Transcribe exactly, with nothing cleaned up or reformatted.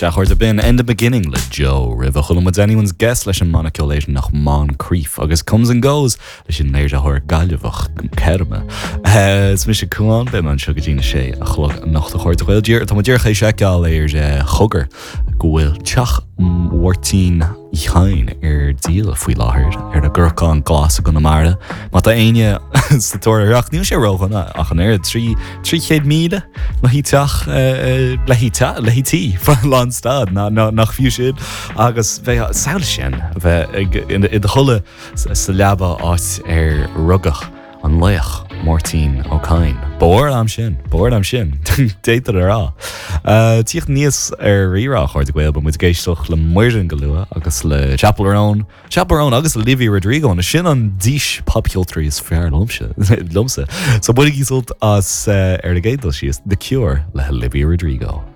Sea, a chairde, b'in End and Beginning le Joe roimhe chuala muid Anyone's Guess leis an mbanna ceoil Éireannach Moncrief agus Comes and Goes leis an léiritheoir Gaillimheach Ceirme. Is mise Cuán beidh mé anseo go dtí a sé a chlog anocht a chairde Gael Tá mé díreach ag seiceáil ar Chogar go bhfuil teach Mháirtín Uí Chadhain ar díol faoi láthair ar an gCorcán Glas i gConamara. Má tá éinne sa tóir air ach níl sé ródhona ach an oiread trí trí chéad míle le teach le le tí lánstad nach fiú sin agus bheith samhlaigh sin bheith i do chodladh sa leaba áit ar rugadh an laoch Máirtín Ó Cadhain. B'fhearr am sin, b'fhearr am sin, détar a rá. Tíocht níos ar rírá chuir gail ba muid ag éisteacht le Muireann go luath agus le Chappell Roan, Chappell Roan agus Olivia Rodrigo na sin an dís popcheoltóirí is fearr liomsa liomsa. So bainigí sult as uh, ar an gcéad dul síos The Cure le Olivia Rodrigo.